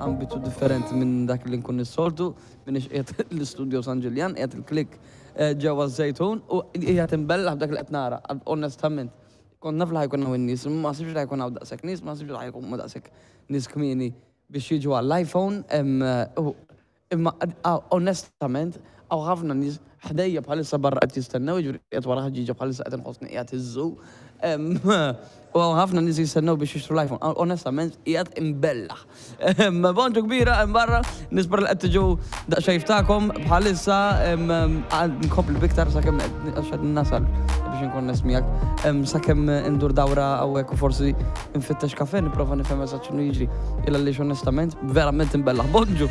ambitu differenti minn dak li nkun is-soltu, m'iniex qiegħed l-istudio San Ġiljan, qiegħed il-Click ġewwa ż-Żejtun u qiegħed imbellaħ b'dak li qed nara, onestament. Kont naf li ħa jkun hawn in-nies, imma ma ħsibtx li ħa jkun hawn daqshekk nies, ma ħsibtx li ħa jkunu daqshekk nies kmieni biex jiġu għall-iPhone. Imma onestament hawn ħafna nies ħdejja bħalissa barra qed jistennew, jiġifieri qiegħed wara ħġieġa bħalissa qed inħossni qiegħed iż-zoo. U hawn ħafna nies jistennew biex jixtru l-iPhone. Onestament qiegħed imbellaħ. Bonġu kbira hemm barra, nispera li qed tiġu daqsxejn ftakom bħalissa nkompli biktar sakemm għax qed nasal biex inkun onest miegħek. Sakemm indur dawra hawnhekk u forsi nfittex kafe nipprova nifhem eżatt x'inhu jiġri. Il għaliex onestament verament imbellaħ. Bonġu!